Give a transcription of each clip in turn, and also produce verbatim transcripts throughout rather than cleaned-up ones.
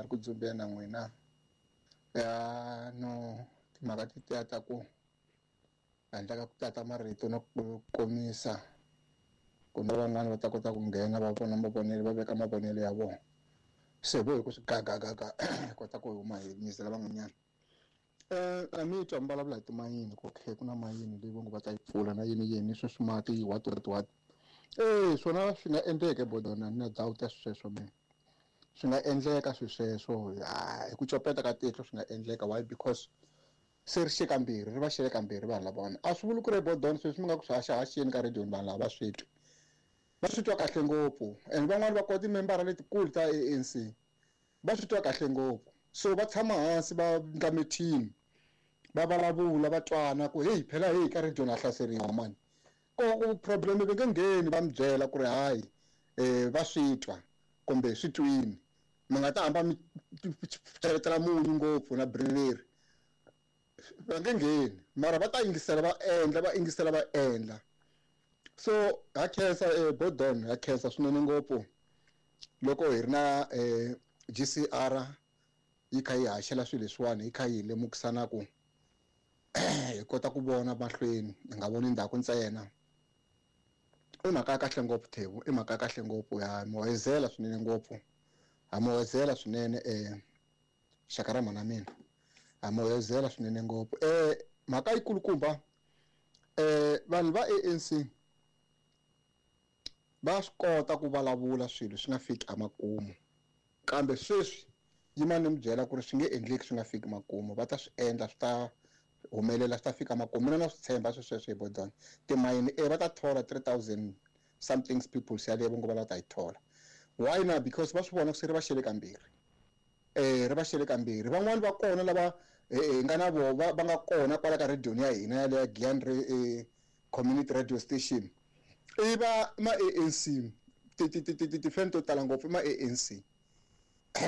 ha ri ku dzumbeni na n'wina. Ya no timhaka tetiya ta ku handle ka ku tata marito na ku komisa ku na van'wani va ta kota ku nghena va vona mavonelo va veka mavonelo ya vona. Se vo hi ku swi gagagaga hi kota ku huma hi nyizela van'wanyana. Eh a mi twa mi vulavula hi timayini ku okay ku na mayini leyi va ngo va ta yi pfula na yini yini sweswi mati what what what. Eh swona swi nga endleka bodona na doubt ya sweswo mina. Swi nga endleka swi sweswo hi ku copeta ka tihlo swi nga endleka why because se ri xe kambirhi ri va xele kambirhi vanhu lavawani a swi vuli ku ri bodona sweswi mi nga ku swi haxahaxeni ka radio vanhu lava va swi twi va swi twa kahle ngopfu and van'wani va kota timembara letikulu ta A N C va swi twa kahle ngopfu so va tshama hansi va endla mithini va vulavula va twana ku hey phela hey ka radio na hlaseriwa mani ko ku problem va nge ngheni va mi byela ku ri hayi eh va swi twa kumbe swi twini mi nga ta hamba mi cheletela munyu ngopfu na birileri va nge ngheni mara va ta yingisela va endla va yingisela va endla so ha khensa eh Bodon ha khensa swinene ngopfu loko hi ri na eh G C R yi kha yi haxela swilo leswiwani yi kha yi lemukisana ku hi kota ku vona mahlweni hi nga voni ndzhaku ntsena i mhaka ya kahle ngopfu Thebu i mhaka ya kahle ngopfu ya muwezela swinene ngopfu ha muwezela swinene eh xaka ra mhana mina ha muwezela swinene ngopfu eh mhaka yikulukumba eh vanhu va A N C va swi kota ku vulavula swilo swi nga fiki emakumu kambe sweswi yima ni mi byela ku ri swi nge endleki swi nga fiki makumu va ta swi endla swi ta humelela swi ta fika makumu mina na swi tshemba swi sweswo hi Bodon timayini e va ta thola three thousand something people yaleyo va ngo va lava ta yi thola why na because va swi vona ku se ri va xele kambirhi eh ri va xele kambirhi van'wani va kona lava hi nga na vo va nga kona kwala ka radio ya hina yaleyo ya Giyani Community Radio Station i va ma A N C ti ti ti ti tifeme to tala ngopfu ma A N C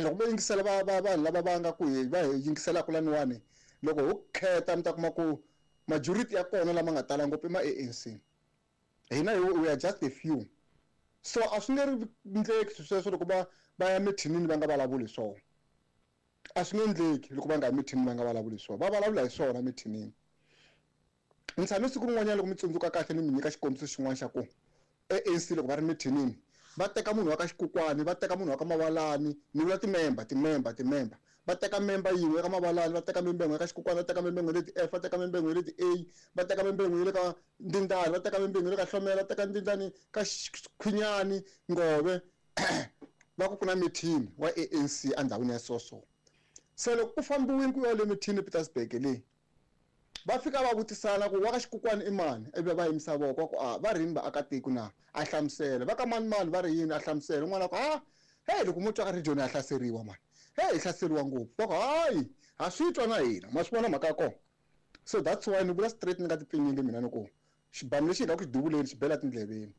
loko vo yingisela va va vanhu lava va nga ku hi va hi yingiselaka laniwani loko ho kheta mi ta kuma ku majority ya kona lama nga tala ngopfu i ma A N C hina we are just a few so a swi nge ri ndleki sweswo loko va va ya mithinini va nga vulavuli hi swona a swi nge endleki loko va nga ya mithinini va nga vulavuli hi swona va vulavula hi swona mithinini ni tshame siku rin'wanyana loko mi tsundzuka kahle ni mi nyika xikombiso xin'wana xa ku A N C loko va ri mithinini va teka munhu wa ka xikukwani va teka munhu wa ka Mavalani ni vula timemba timemba timemba va teka memba yin'we ka Mavalani va teka memba yin'we ka xikukwani va teka memba yin'we le ti-F va teka memba yin'we le ti-A va teka memba yin'we le ka Ndindani va teka memba yin'we le ka Hlomela va teka Ndindani ka Khwinyani Ngove va ku ku na mithini wa A N C endhawini ya so so se loko ku fambiwile ku ya le mithini Petersburg leyi va fika va vutisana ku wa ka xikukwani i mani ivi va yimisa voko ku a va ri yini vaakatiko na a hlamusela va ka mani mani va ri yini a hlamusela un'wana ku a hey loko mo twa ka region ya hlaseriwa mani hey hi hlaseriwa ngopfu va ku hayi ha swi twa na hina ma swi vona mhaka ya kona so that's why ni vula straight ni nga tipfinyingi mina ni ku xibamu lexi hi nga ku xi duvuleni xi bela tindleveni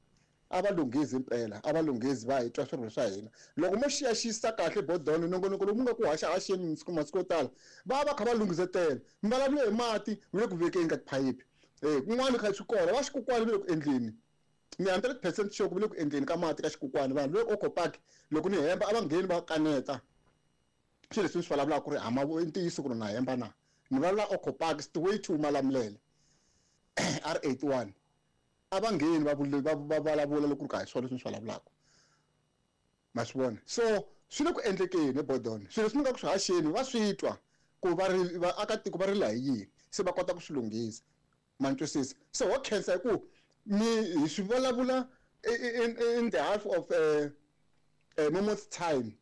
a va lunghezi impela a va lunghezi va hi twa swirilo swa hina loko mo xiyaxisa kahle Bodon nongonoko lowu mu nga ku haxahaxeni masiku masiku yo tala va va kha va lunghisetela mi vulavula hi mati mi le ku vekeni ka tiphayiphi eh kun'wana kha swi kona va xikukwani va le ku endleni ni hundred percent sure ku va le ku endleni ka mati ka xikukwani vanhu le Oko Park loko ni hemba a va ngheni va kaneta swilo leswi ni swi vulavulaka ku ri hama i ntiyiso ku ri na hemba na ni vulavula Oko Park way to Malamulele R eighty-one a va ngheni va va vulavula loko ku ri ka hi swona leswi ni swi vulavulaka ma swi vona so swi le ku endlekeni Bodon swilo leswi mi nga ku swi haxeni va swi twa ku va ri vaakatiko va rila hi yini se va kota ku swi lunghisa ma ni twisisa so ho khensa hi ku mi hi swi vulavula in, in the half of uh, uh, moment's time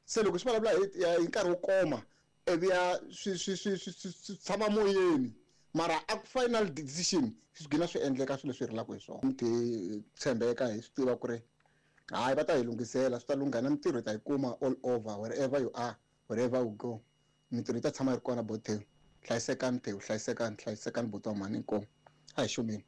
se loko swi vulavula hi nkarhi wo koma ivi ya swi swi swi swi tshama moyeni mara a ku final decision swi gina swi endleka swilo leswi rilaka hi swona ti tshembeka hi swi tiva ku ri hayi va ta hi lunghisela swi ta lungha na mintirho hi ta yi kuma all over wherever you are wherever you go mintirho yi ta tshama yi ri kona Bothewu hlayisekani Thewu hlayisekani hlayisekani buti wa mhani inkomu a hi xumeni.